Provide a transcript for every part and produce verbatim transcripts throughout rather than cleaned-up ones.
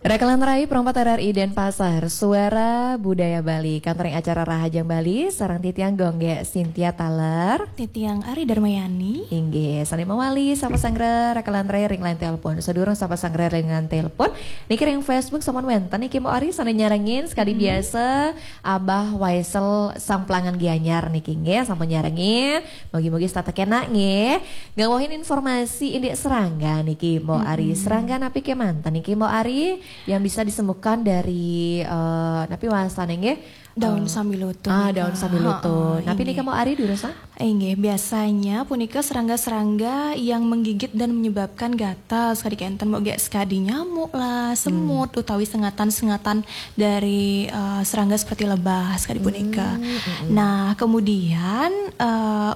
Rakalan rai perempat R R I Denpasar, Suara Budaya Bali, kantoring acara Rahajeng Bali, sareng titiang Gung Gé Cynthia taler. Titiang Ari Darmayani. Inggih, sané mawali sapa sanggra rakalan rai ring line telepon. Sadurung sapa sanggra ring line telepon, niki ring Facebook sampun wénten niki Mbok Ari sané nyarengin sekadi biasa, Abah Waisel Samplangan Gianyar niki nggih sampun nyarengin. Mugi-mugi setata kenak nggih. Ngawuhin informasi indik serangga niki Mbok Ari. Serangga napi kémanten niki Mbok Ari yang bisa disembuhkan dari eh, napi wastané nggih? Daun Eh, sambiloto ah, nika. Daun sambiloto. Heeh, napi nika Mbok Ari durusang? Inggih, biasanya punika serangga-serangga yang menggigit dan menyebabkan gatal, sekadi kénten Mbok, gek sekadi nyamuk lah, semut utawi sengatan-sengatan dari eh, serangga seperti lebah sekadi punika. Nah, kemudian eh,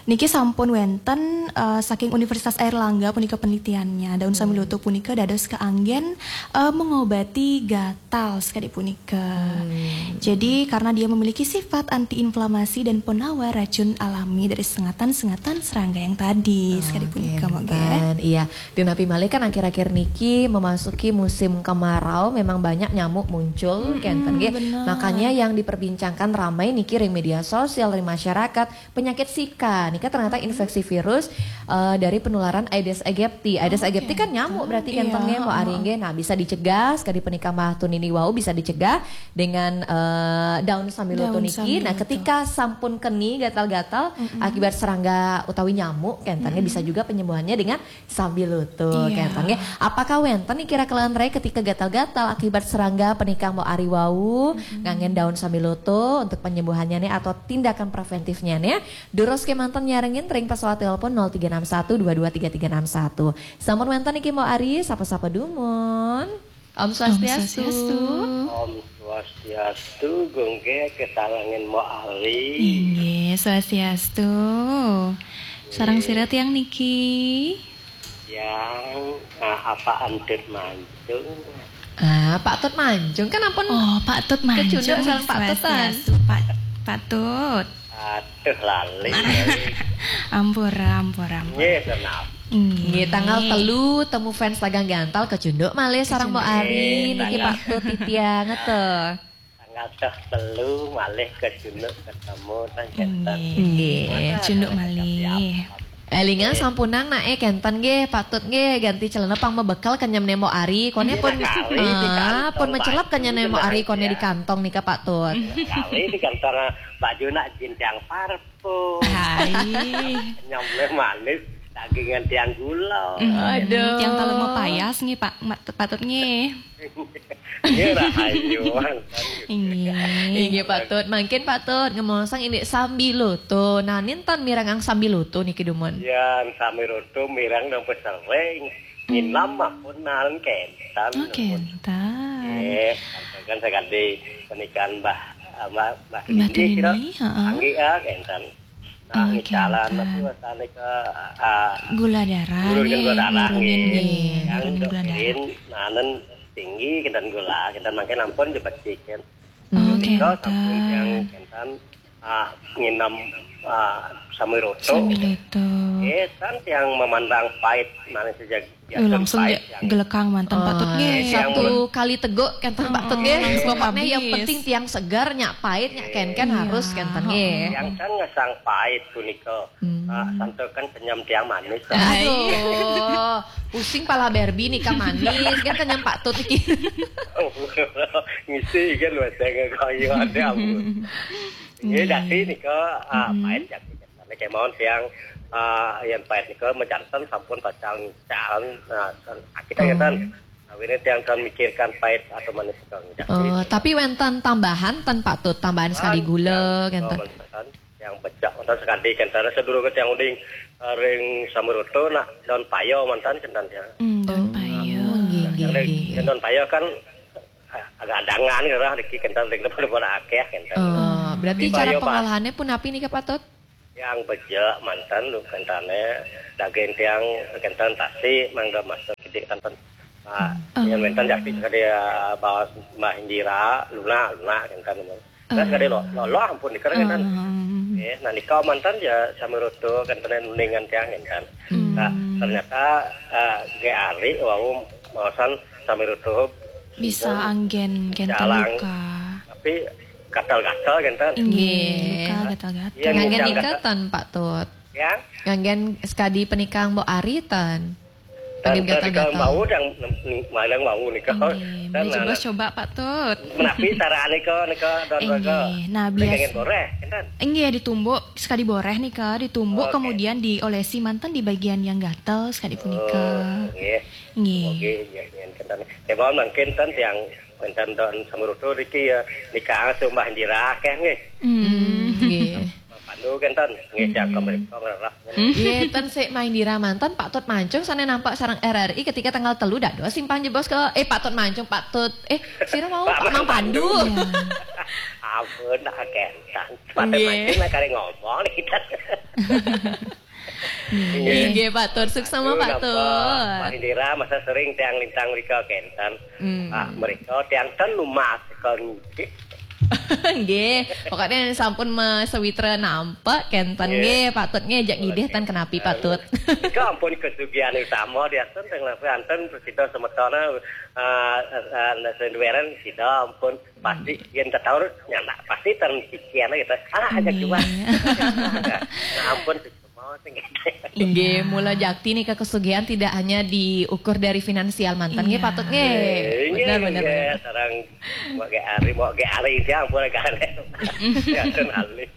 niki sampun wénten eh, saking Universitas Airlangga punika penelitiannya, daun sambiloto punika dados kaanggén eh, mengobati gatal sekadi punika. Jadi karena dia memiliki sifat antiinflamasi dan penawar racun alami dari sengatan-sengatan serangga yang tadi sekadi punika, Mbok, nggih. Kénten, iya. Dunapi malih kan akhir-akhir niki memasuki musim kemarau, memang banyak nyamuk muncul, kénten nggih. Makanya yang diperbincangkan ramai niki ring media sosial, ring masyarakat, penyakit Zika. Nika ternyata infeksi virus eh, dari penularan Aedes aegypti. Aedes aegypti kan nyamuk berarti, kénten nggih, Mbok Ari nggih. Nah, bisa dicegah sekadi punika Mbah Tunini wau, bisa dicegah dengan eh, daun sambiloto niki. Nah, ketika sampun keni gatal-gatal akibat serangga utawi nyamuk, kénten nggih, bisa juga penyembuhannya dengan sambiloto, kénten nggih. Apakah wénten niki rakalan rai ketika gatal-gatal akibat serangga punika Mbok Ari wau, nganggén daun sambiloto untuk penyembuhannya nih atau tindakan preventifnya nih? Durus kémanten nyarengin ring pesawat telepon nol tiga enam satu dua dua tiga tiga enam satu. Sampun wénten niki Mbok Ari, sapa-sapa dumun. Om Swastiastu. Om Swastiastu. Om Swastiastu, Gung Gé, kesalengin Mbok Ari. Inggih, Swastiastu. Sareng sira tiang niki? Yang ah, apa Antut Mancung? Ah, Pak Tut Mancung kan ampun. Oh, Pak Tut Mancung. Kecunduk sareng Pak Tut, tan. Swastiastu, Pak, Pak Tut. Aduh, lali. Ampura, ampura, ampura. Nggih, tenang. Nggih, tanggal telu temu fans Tagang Gantal kecunduk malih sareng Mbok Ari niki, Pak Tut titiang ngeto. Tanggal telu malih kecunduk ketemu tan, kénten. Nggih, cunduk malih. Élingang sampunang naé, kénten nggih, Pak Tut nggih, ganti celana pang mabekel kenyem né Mbok Ari, koné pun, ah, pun mecelep kenyem né Mbok Ari, koné di kantong nika, Pak Tut. Kali di kantong baju nak jintiang parfum. Hai. Nyamlé manis, dagingan tiang gula. Aduh. Tiang taler mapayas nggih, Pak, Pak Tut nggih. Nggih, rahayu. Inggih. Inggih, Pak Tut. Mangkin Pak Tut ngemaosang indik sambiloto. Nah, ninten mirengang sambiloto niki dumun? Ya, sambiloto mireng nang pesering. Nginam mah pun nang kénten. Oh, kénten. Nggih, kan sekadi pernikahan Mbah, Mbah, Mbah Tini, heeh. Anggi ya, kénten. Nah, ngicalan napi wastané ke ah, gula darah, nurunin gula darah, nurunin nggih. Nggih, nurunin gula darah. Nanen tinggi kénten gula, kénten mangkin ampun dibecik kan. Oh, kénten. Sampun yang kénten ah, nginem ah, sambiloto. Sambiloto. Eh, tan yang memandang pahit, manis saja. Langsung gelekang manten Pak Tut nggih. Satu kali teguk kénten Pak Tut nggih. Pokoknya yang penting tiang segar, nyak pahit, nyak kénkén harus kénten nggih. Yang kan ngesang pahit punika. Ah, santukan senyum tiang manis. Aduh, pusing pala Barbie nika manis kan kenyem Pak Tut iki. Ngisi kan wetenge kaya ada ampun. Nggih, dadi nika ah, pahit ya. Nek kemawon tiang ah, yang pahit nika mecanten sampun pacang calon nah, kita ngeten. Awine tiang kan mikirkan pahit atau manis nika. Oh, tapi wénten tambahan ten Pak Tut, tambahan sekali gula kénten. Yang becak mantan sekali kénten sedurunge tiang uling ring sambiloto nak daun payo mantan kénten ya. Hmm, daun payo. Oh, nggih, nggih, nggih. Daun payo kan ah, agak adangan gitu lah, niki kénten ring pada akeh kénten. Oh, berarti cara pengolahannya pun api nih Pak Tut? Yang becek mantan lu kéntene daging tiang kénten tasi mangga master kidik kénten. Ah, yang mantan jadi sekali ah, bawa Mbah Indira, lunak, lunak kénten. Kan sekali lo, lo, lo ampun dikira kénten. Eh, nah nika mantan ya sambiloto kénten ulingan tiang kénten. Nah, ternyata ah, ge ari wau Maosan sambil tutup. Bisa anggen, anggen luka. Tapi gatal-gatal, kenten. Inggih, luka gatal-gatal. Iya, nganggen gatal-gatal. Nika ten, Pak Tut? Ya? Nganggen sekadi penikang Mbok Ari ten. Ten, ten, gatal-gatal. Nika mau yang, yang mau nika. Inggih, coba, Pak Tut. Menapi cara nika, nika, don, inggih. Nah, biasa. Nganggen boreh, kenten. Inggih, ditumbuk sekadi boreh nika, ditumbuk, oke, kemudian diolesi manten di bagian yang gatal sekadi punika. Oh, inggih. Nggih. Oke, ya, ya, kenten. Ya, mohon mangkin ten tiang kenten don samrutu niki ya, nika sumbah njira akeh nggih. Hmm, nggih. Pandu kenten nggih, hmm, jaga mereka ngerah. Hmm. Nggih, ten sik main dira manten Pak Tut Mancung sane nampak sareng R R I ketika tanggal telu dados simpang jebos ke, eh, Pak Tut Mancung, Pak Tut, eh, sira mau Pak Mang Pandu. Iya. Ampun, tak kenten. Pak Tut Mancung nak kali ngomong nih kita. Inggih, Pak Tut. Suksma, Pak Tut. Pak Indira, masa sering tiang lintang mrika kenten. Hmm. Ah, mrika tiang ten lumas kon nggih. Nggih, pokoknya sampun Mas Sawitra nampak kenten nggih, Pak Tut nggih, jak ngidih ten kenapi, Pak Tut. Nika ampun kesugihan utama diasten teng langsung anten sida semetona, eh, eh, eh, senduweren sida ampun pasti yen tetaur nyandak pasti ten pikiran gitu. Ah, aja cuma. Nah, ampun. Inggih, mula jakti nika kesugihan tidak hanya diukur dari finansial manten nggih, Pak Tut nggih. Nggih, bener, bener, bener. Sareng Mbok Ge Ari, Mbok Ge Ari, ya ampun, gak aneh. Ya, ten alih.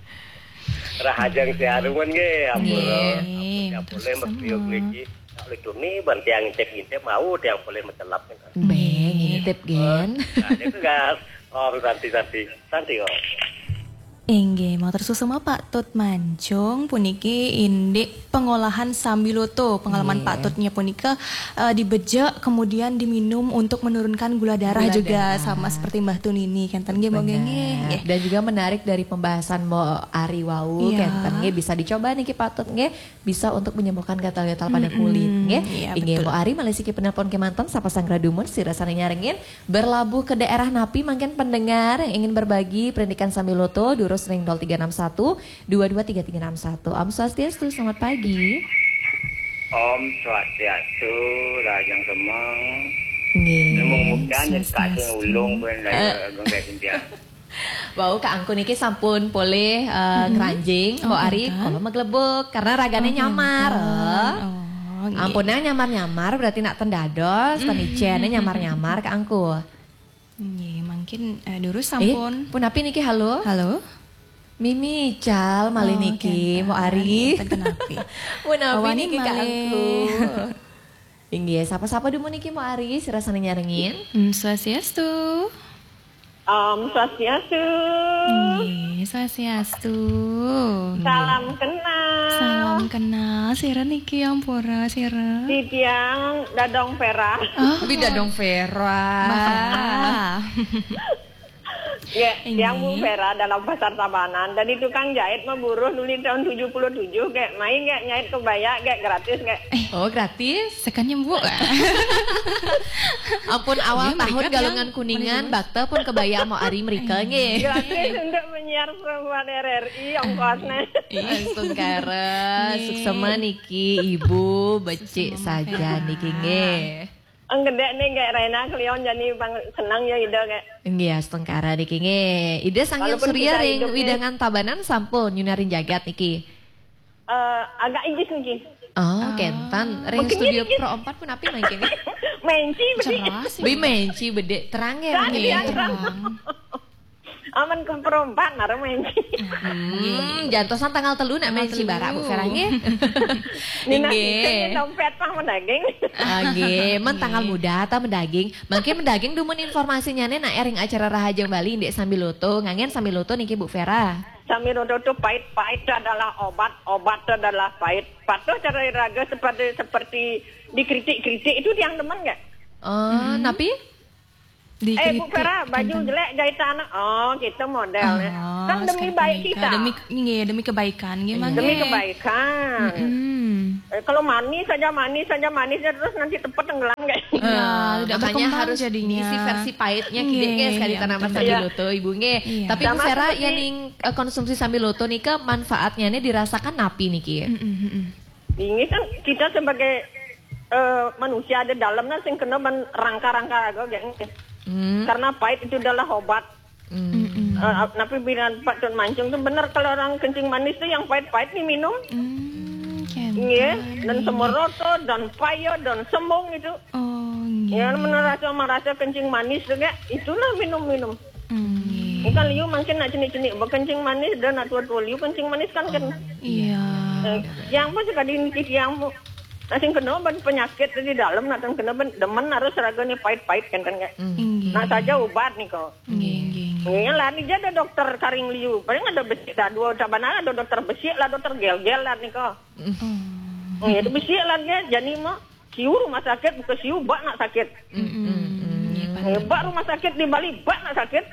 Rahajeng siaruan nggih, ampun. Nggih, ya, boleh sama. Mesti niki. Kalau itu nih, ban tiang ngintip-ngintip mau, tiang boleh mencelap. Nggih, ngintip, gen. Nah, itu gas. Oh, santi, santi. Santi, oh. Inggih, matur suksma Pak Tut Mancung puniki indik pengolahan sambiloto. Pengalaman Pak Tutnya punika, eh, dibejek, kemudian diminum untuk menurunkan gula darah juga, sama seperti Mbah Tunini. Kenten nggih, Mbok nggih, nggih. Dan juga menarik dari pembahasan Mbok Ari wau, kenten nggih, bisa dicoba niki Pak Tut nggih. Bisa untuk menyembuhkan gatal-gatal pada kulit, nggih. Iya, inggih, betul. Mbok Ari, malih siki penelpon kemanten, sapa sanggra dumun, sira sane nyarengin, berlabuh ke daerah napi mangkin pendengar yang ingin berbagi perindikan sambiloto, durus ring nol tiga enam satu, dua dua tiga tiga enam satu. Om Swastiastu, selamat pagi. Om Swastiastu, Rahajeng Semeng. Nggih. Nemu mudan, Swastiastu. Kasih ulung, ben, eh, genggai sintian. Wau, Kak Angku niki sampun polih, eh, ngranjing, Mbok Ari, kula meglebuk karena ragane nyamar. Oh, nggih. Ampun, nang nyamar-nyamar berarti nak ten dados, ten icene nyamar-nyamar, Kak Angku. Nggih, mangkin, eh, durus sampun. Punapi niki, halo? Halo? Mimi ical malih niki, Mbok Ari. Punapi niki, Kak Angku. Inggih, sapa-sapa dumun niki, Mbok Ari, sira sane nyarengin? Om Swastiastu. Om Swastiastu. Nggih, Swastiastu. Salam kenal. Salam kenal. Sira niki ampura, sira? Titiang Dadong Vera. Oh. Bi Dadong Vera. Mbak Vera. Ya, yang Bu Vera dalam Pasar Tabanan. Dari tukang jahit maburuh nuli tahun tujuh puluh tujuh, kayak main, kayak nyait kebaya, kayak gratis, kayak. Eh, oh, gratis? Sekan nyembuh. Ampun, awal tahun galungan kuningan, bakta pun kebaya Mbok Ari mrika, nggih. Gratis untuk penyiar perempuan R R I, ongkosnya. Astungkara, suksma niki, Ibu, becik saja niki, nggih. Ang gedek nih, kayak Rena Cleon jadi bang senang ya, Ida, kayak. Nggih, astungkara niki, nggih. Ida Sang Hyang Surya ring wewidangan Tabanan sampun nyunarin jagat niki. Eh, agak inggih niki. Oh, kenten. Ring studio Pro empat punapi mangkin? Menci, bedik. Bi menci bedik, terang ya, terang. Aman ke Pro empat, nara menci. Hmm, jantosan tanggal telu nak menci barak, Bu Vera, nggih. Nggih. Dompet pang mendaging. Ah, nggih, men tanggal muda atau mendaging? Mangkin mendaging dumun informasinya nih, nak ring acara Rahajeng Bali, indik sambiloto, nganggen sambiloto niki, Bu Vera. Sambiloto itu pahit, pahit itu adalah obat, obat itu adalah pahit. Patuh cara iraga seperti, seperti dikritik-kritik itu tiang demen nggak? Oh, napi? Eh, Bu Vera, baju jelek jahitan. Oh, gitu modelnya. Kan demi baik kita. Demi, nggih, demi kebaikan, nggih, Mang, nggih. Demi kebaikan. Eh, kalau manis saja, manis saja, manis saja, terus nanti tepat tenggelam, kayak. Nah, tidak berkembang jadinya. Makanya harus diisi versi pahitnya, nggih, sekali tanaman sambiloto, Ibu, nggih. Iya. Tapi Bu Vera, ya, ning, eh, konsumsi sambiloto nika manfaatnya nih dirasakan napi niki? Ini kan kita sebagai eh, manusia ada dalamnya sing kena ban rangka-rangka raga geng. Hmm. Karena pahit itu adalah obat. Hmm. Eh, napi bilang Pak Tun Mancung tuh bener kalau orang kencing manis tuh yang pahit-pahit nih minum. Hmm, kan. Iya, dan semoroto, dan payo, dan sembung itu. Oh, nggih. Ya, merasa merasa kencing manis tuh kayak itulah minum-minum. Hmm, nggih. Ini kan liu mungkin nak cenik-cenik berkencing manis dan nak tua-tua liu kencing manis kan kan. Iya. Eh, yang apa sekali niki yang bu. Nah, sing kena ban penyakit di dalam nak kena ban demen harus raganya pahit-pahit kan kan kayak. Inggih. Nah saja obat nih kok. Nggih, nggih, nggih. Ini lah ni ada dokter karing liu. Paling ada besik dah dua cabanan ada dokter besik lah dokter gel-gel lah nih kok. Oh. Oh, ya besik lah dia jadi mah siu rumah sakit bukan siu bak nak sakit. Mm-mm. Nggih, Pak. Eh, bak rumah sakit di Bali bak nak sakit.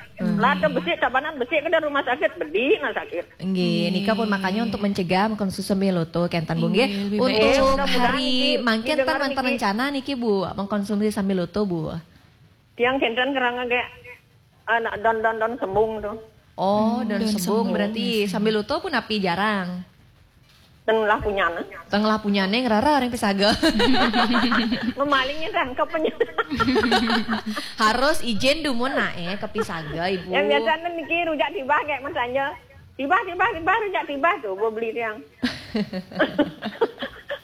Lah ada besik cabanan besik ke rumah sakit bedi nak sakit. Nggih, nika pun makanya untuk mencegah mengkonsumsi sambiloto kenten Bu nggih. Nggih, lebih Untuk baik. Mudah-mudahan hari ini mangkin ten didengar wenten niki. Rencana niki Bu, mengkonsumsi sambiloto Bu. Tiang kenten kerana kayak anak don don don sembung tuh. Oh, Hmm, dan dan sembung sembung. Berarti sambiloto pun napi jarang. Dan lah punya nah. Tengah punya neng rara orang pesaga. Memalingnya kan ke penyu. Harus izin dumun nae ke pisaga Ibu. Yang biasa niki rujak tibah kayak masanya. Tibah tibah tibah rujak tibah tuh gua beli tiang.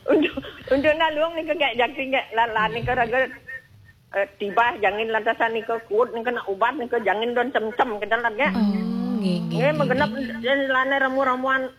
Untuk untuk nalung nih kayak jaking kayak lalan nih raga eh, tibah jangin lantasan nih ke kuat nih kena ubat nih ke jangin don cem-cem kita lah ya. Oh, nggih, nggih. Nggih menggenap dan lana ramu-ramuan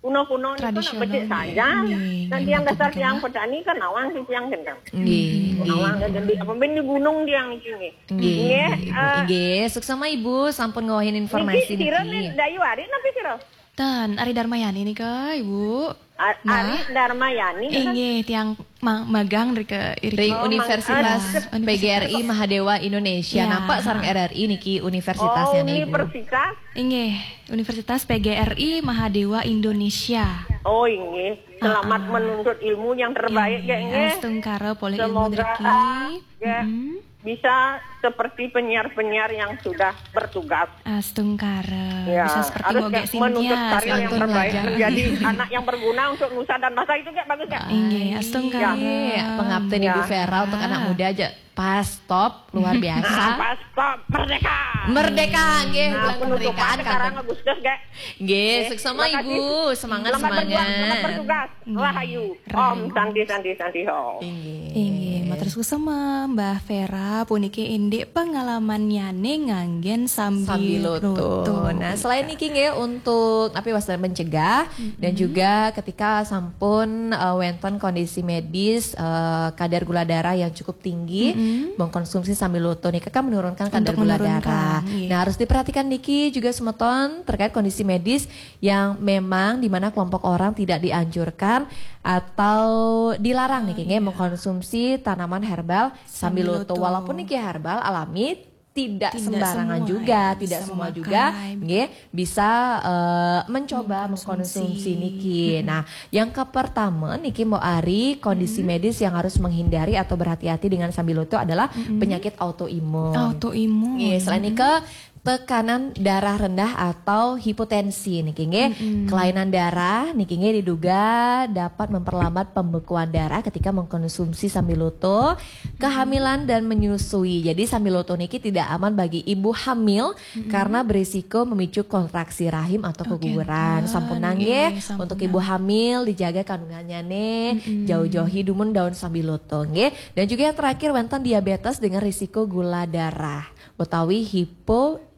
kuno-kuno nih kena Tradisional, becik nggih. saja. Nggih, Dan nggih, tiang betul, dasar betul. Tiang petani kan nawang sih tiang kentang. Nggih, nggih. Nawang kan jadi apa ben di gunung tiang nih sini. Nggih, Nggih, Ibu. eh, Nggih, suksema Ibu sampun ngawahin informasi Niki sira niki. nih Dayu Ari napi sira? Tan, Ari Darmayani nika, Ibu. A- Ari Darmayani kan? Inggih, tiang ma- magang dari ke Ring Oh, Universitas Universitas. P G R I Mahadewa Indonesia. Ya. Nampak sarang R R I niki Oh, universitasnya nih Ibu. universitas. Inggih, Universitas P G R I Mahadewa Indonesia. Oh, inggih. Selamat menuntut ilmu yang terbaik ya, Inggih, nggih. astungkara polih ilmu Semoga driki. ah, ya, Mm-mm. bisa seperti penyiar-penyiar yang sudah bertugas. Astungkara. Ya, Bisa seperti harus Moge kayak menuntut Sintia. Karir yang Santun terbaik aja. Menjadi anak yang berguna untuk nusa dan bangsa itu kayak bagus kan? Inggih, astungkara. Iya, pengabdian Ibu Ya. Vera untuk anak muda aja pas top luar biasa. Pas top merdeka. Merdeka, nggih, Nah, bulan penutupan kemerdekaan sekarang kan. Agustus, gak? Nggih, suksema Ibu, semangat Selamat berjuang, selamat semangat. Bertugas. Rahayu. Rahayu. Om Santi Santi Santi Om. Inggih. Inggih, matur suksema Mbah Vera puniki indik pengalamannyane nganggen Sambiloto. sambiloto. Nah, selain niki nggih untuk apa wasta mencegah dan juga ketika sampun eh, wenten kondisi medis eh, kadar gula darah yang cukup tinggi, mengkonsumsi sambiloto nih kan menurunkan kadar Untuk gula menurunkan, darah. Iya. Nah, harus diperhatikan niki juga semeton terkait kondisi medis yang memang di mana kelompok orang tidak dianjurkan atau dilarang nih nggih mengkonsumsi tanaman herbal sambiloto. Sambiloto. Walaupun niki herbal alami tidak, Tidak sembarangan semua, juga, ya, tidak bisa semua memakai. juga nggih bisa eh, mencoba mengkonsumsi niki. Nah, yang kepertama niki mau ari kondisi medis yang harus menghindari atau berhati-hati dengan sambiloto adalah penyakit autoimun. Autoimun. Nggih, selain niki tekanan darah rendah atau hipotensi niki nggih. Kelainan darah niki nggih diduga dapat memperlambat pembekuan darah ketika mengkonsumsi sambiloto, kehamilan dan menyusui. Jadi sambiloto niki tidak aman bagi ibu hamil karena berisiko memicu kontraksi rahim atau keguguran. Sampun nggih, untuk ibu hamil dijaga kandungannya nih, jauh-jauhi dumun daun sambiloto nggih. Dan juga yang terakhir wenten diabetes dengan risiko gula darah utawi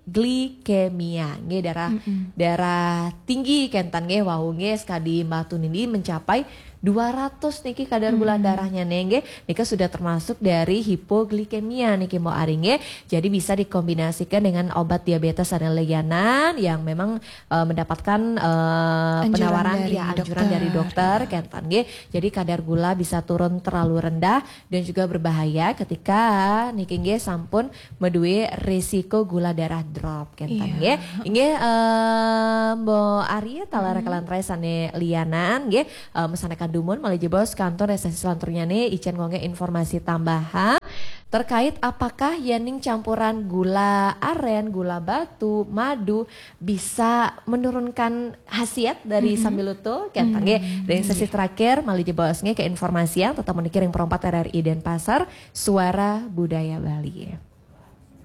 hipoglikemia nggih, darah darah tinggi kenten nggih, wau nggih sekadi Mbah Tun ini mencapai dua ratus niki kadar gula darahnya nih nggih. Nika sudah termasuk dari hipoglikemia niki mau ari nggih. Jadi bisa dikombinasikan dengan obat diabetes ane lianan yang memang eh, mendapatkan eh, Anjuran penawaran dari ya anjuran dari dokter. Dokter kenten nggih. Jadi kadar gula bisa turun terlalu rendah dan juga berbahaya ketika niki nggih sampun meduwe risiko gula darah drop kenten Iya. nggih. Inggih eh, Mbok Ari taler kalantarai sane lianan nggih. Eh, mesanekan dumun malih jebos kantor resensi selanturnya nih icen ngongge informasi tambahan. Terkait apakah yén ning campuran gula aren, gula batu, madu bisa menurunkan khasiat dari sambiloto? Kan nggih, dari sesi terakhir malih jebos nggih ke informasi yang tetap menikir yang perempat R R I Denpasar, Suara Budaya Bali.